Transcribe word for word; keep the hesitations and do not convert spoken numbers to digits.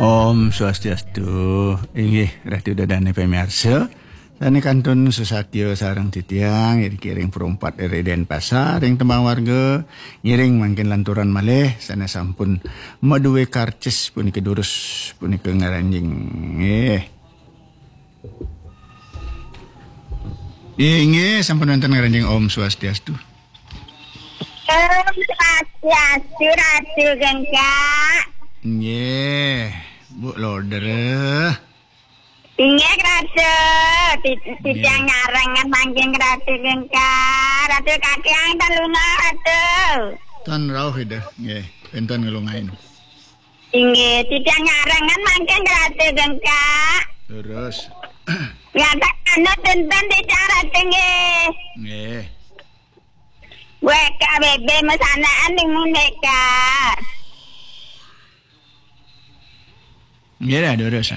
Om Swastiastu. Inggih, Ratu Dadane pamiarsa. Sane kantun susatya sareng titiang, iriki ring Perumpat R D Denpasar, ring tembang warga, ngiring mangkin lanturan malih, sane sampun madue karcis punika durus, punika ngranjing. Nggih. Inggih, sampun wonten ngranjing. Om Swastiastu. Om Swastiastu, Ratu Gengkak. Nggih, Bu Loder. Inggih, Ratu. Ti-, titiang nyarengan mangkin Ratu Gengkak. Ratu kakiang ten lunga, Ratu. Tan rauh Ida. Nggih, pinten ngelungain. Inggih, titiang nyarengan mangkin Ratu Gengkak. Terus. Ngatak anu tenten titiang Ratu nggih. Nggih. Weka bebe mesanaan ning mundeka. Nggih, dah, terus.